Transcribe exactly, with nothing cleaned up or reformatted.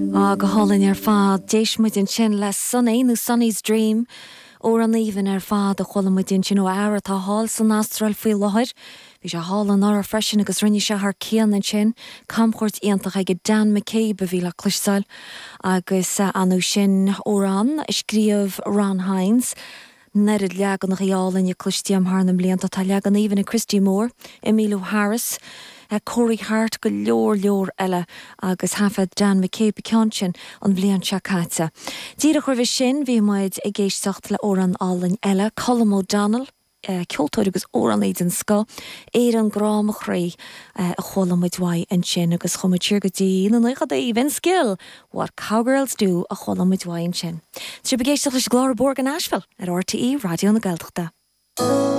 Á go hálainn ar fad d'éist muid ansin le Sonny nó Sonny's Dream amhrán aoibhinn ar fad a chuala muid ansin ó fhear atá thall san Astráil faoi láthair. Bhí sé thall anuraidh freisin agus rinne sé thar cionn ansin camchuairt iontach ag Dan McCabe a bhí le cloisteáil agus anu sin amhrán a scríobh Ron Hynes. Neart leaganacha álainne cloiste agam thar na mblianta tá leagan aoibhinn ag Christy Moore, Emmylou Harris, Corey Hart go leor leor eile agus thaifead Dan McCabe ceann sin an bhliain seo caite. Díreach roimhe sin bhí muid ag éisteacht le amhrán álainn eile Colm O'Donnell, ceoltóir agus amhránaí den scoth Éireann grá mo chroí a chuala muid uaidh ansin agus chuaigh muid siar go dtí na naochadaí Vince Gill, What Cowgirls Do a chuala muid uaidh ansin. Tá sibh ag éisteacht leis an gclár Bóthar go Nashville ar RTÉ Raidió na Gaeltachta.